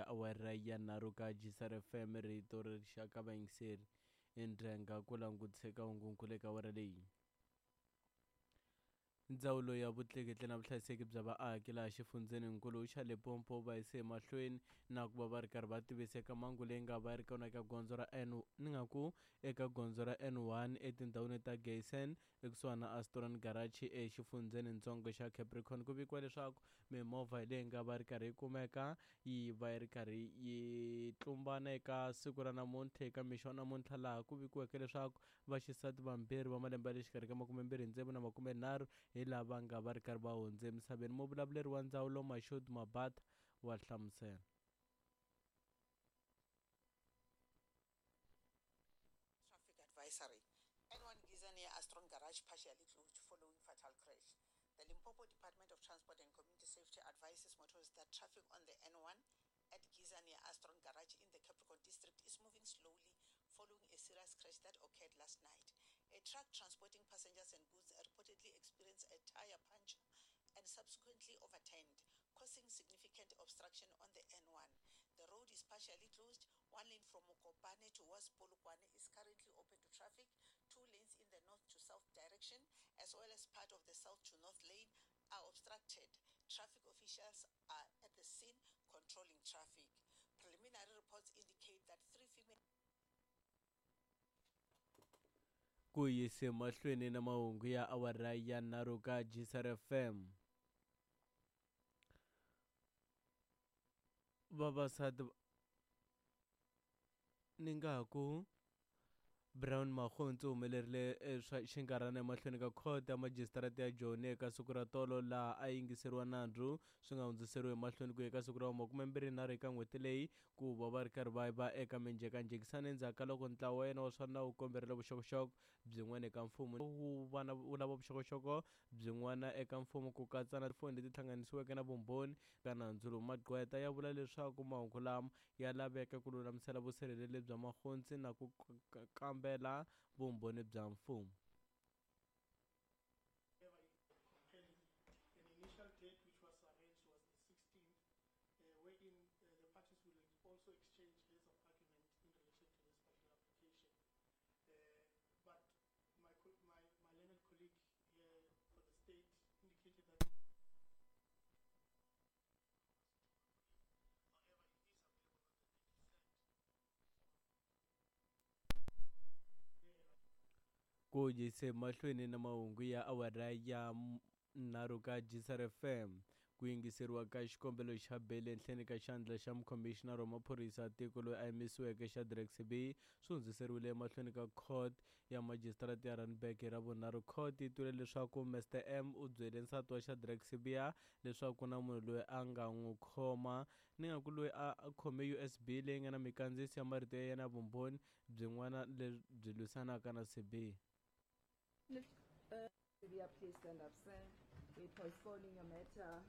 ya awara ya nharhu ka Gsar FM rito ri rixaka vayingiseri endrenga ku langutiseka hungunkulu eka awara leyi. Ndzawulo ya Vutleketli na Vuhlayiseki bya Vaaki laha xifundzheninkulu xa Limpopo va yise emahlweni na ku va va ri karhi va tivisa eka mhangu leyi nga va yi ri kona eka gondzo ra N ni nga ku eka gondzo ra N1 etindhawini ta Geysen ekusuhani na Astron Garage exifundzhenintsongo xa Capricorn. Ku vikiwa leswaku mimovha leyi nga va ri karhi yi kumeka yi va yi ri karhi yi tlumbana eka siku ra namuntlha eka mixo wa namuntlha laha ku vikiweke leswaku Vaxisati vambirhi va malembe ya le xikarhi ka makumembirhi tsevu na makumenharhu hi lava nga va ri karhi va hundze emisaveni. Muvulavuleri wa ndzawulo Mashood Mabatha wa hlamusela. Traffic advisory, N1 Giza near Astron Garage partially closed following fatal crash. The Limpopo Department of Transport and Community Safety advises motorists that traffic on the N1 at Giza near Astron Garage in the Capricorn District is moving slowly following a serious crash that occurred last night. A truck transporting passengers and goods reportedly experienced a tire puncture and subsequently overturned, causing significant obstruction on the N1. The road is partially closed. One lane from Mokopane towards Polokwane is currently open to traffic. Two lanes in the north to south direction, as well as part of the south to north lane, are obstructed. Traffic officials are at the scene controlling traffic. Preliminary reports indicate that three female Ku yise mahlweni na mahungu ya awara ya nharhu ka Gsar FM. Vavasati ni nga ha ku Brown Makgontsi u humelerile eh, swa xinkarhana emahlweni ka khoto ya majisitarata ya Joni eka siku ra tolo laha a yingiseriwa nandzu swi nga hundziseriwi emahlweni ku eka siku ra makumembirhinharhu eka n'hweti leyi ku va va ri karhi va va eka minjhekanjhekisano endzhaku ka loko ntlawa wa yena wa swa nawu wu komberile vuxokoxoko byin'wana eka mfumo wu va na wu lava vuxokoxoko byin'wana eka mfumo ku katsa na tifoni leti hlanganisiweke na vumbhoni ka nandzu lowu magqweta ya vula leswaku mahungu lama ya laveka ku lulamisela vusirheleri bya magontsi na ku kambela vumbhoni bya mfumo. Ku yise mahlweni na mahungu ya awara ya nharhu ka Gsar FM. Ku yingiseriwa ka xikombelo xa beli ehenhleni ka xandla xa mukhomixinara wa maphorisa ya tiko loyi a yimisiweke Shadrack Sibiyi swi hundziseriwile emahlweni ka court ya majisitarata ya Randburg hi Ravunharhu. Court yi twile leswaku Mister M u byele nsati wa Shadrack Sibiya leswaku ku na munhu loyi a nga n'wi khoma ni nga ku loyi a a khome USB leyi nga na mikandziyiso ya marito ya yena ya vumbhoni byin'wana lebyi lwisanaka na Sibiya. Sibiya, please stand up, sir. We're postponing your matter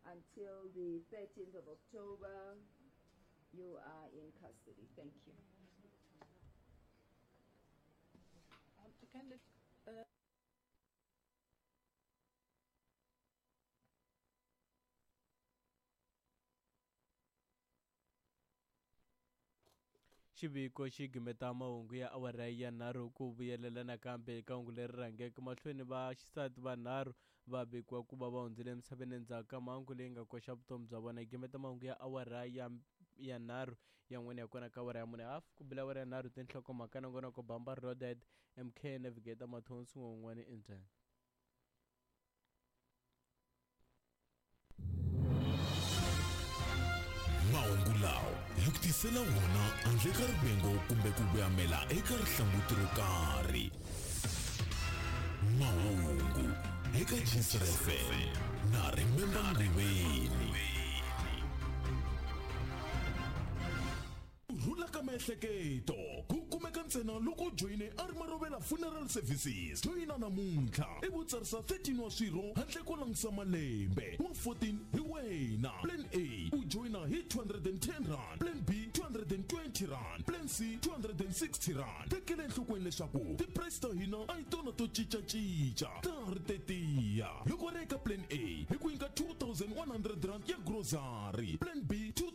until the 13th of October. You are in custody. Thank you. Can it, Xiviko xi gimeta mahungu ya awara ya nharhu ku vuyelela nakambe eka hungu leri rhangeke mahlweni va xisati vanharhu va vikiwa ku va va hundzile emisaveni endzhaku ka mhangu leyi nga koxa vutomi bya vona. Yi gimeta mahungu ya awara ya ya nharhu yan'wana ya kona ka awara ya mune hafu ku bile awara ya nharhu tinhlokomhaka nongonoko bamba rodet mk navigator mathonsi n'wan'wani injhani. Mahungu lawa hi ku tisela wona handle ka rivengo kumbe ku voyamela eka rihlanguti ro karhi. Mahungu eka Gcr FM na Remember Nguveni. Ku rhula ka miehleketo ku kumeka ntsena loko u joyine a ri Marovela Funeral Services. Joyina namuntlha ivi u tsarisa 13 wa swirho handle ko langusa malembe. Wa 14 hi wena. Plan A u joyina hi 210 rand, Plan B 220 rand, Plan C 260 rand. Tekela enhlokweni leswaku ti-price ta hina a hi tona to cincacinca, ta ha ri tetiya. Loko ri eka Plan A hi ku nyika 2100 rand ya grocery, Plan B 2000